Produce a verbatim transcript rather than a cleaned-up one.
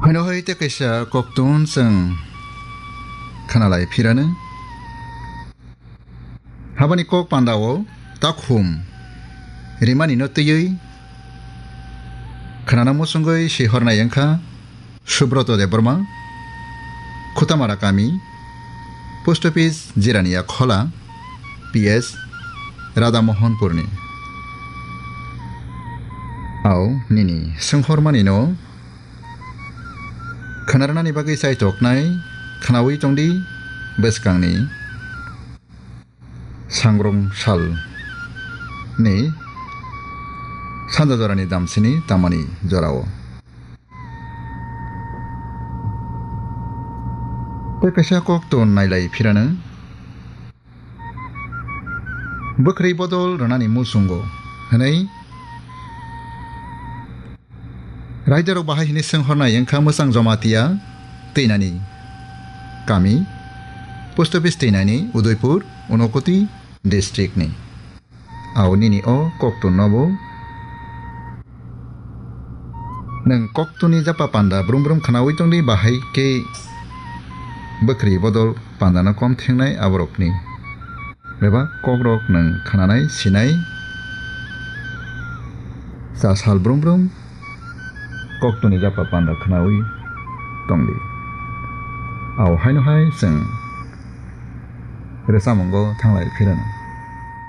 Haino hai tei kaisa koktun chwng khwnalai phirano. Habani kok pandao takhum rimani no twiwi khwnana muchungwi sihornai wngkha Subroto Debbarma, Khutamara kami, Post Office Jirania Khola, P S Radha Mohanpurni. Au nini swnghormani no khwnarnani bagwi chaitoknai khwnaui tongdi bwskangni sangrong sal ni sanja jorani damsini tamani jorao. Tei kaisa koktun nailai phirano. Bwkhwrwi bodol rwnani muchungo hwnwi raidarok bahai hwnwi swnghornai wngkha Mwchang Jamatia twinani kami, Post Office twinani Udaipur, Unakoti district ni. Au nini o koktun no bo nwng koktuni japa panda brum brum khwnaui tongdi, bahai khe bwkhwrwi bodol pandano kom thengnai aborokni. Bebak kokrok nwng khwnanai sinai cha sal brum brum koktuni japa panda khwnaui tongdi. Au haino hai chwng rwchamungo thanglai phirano.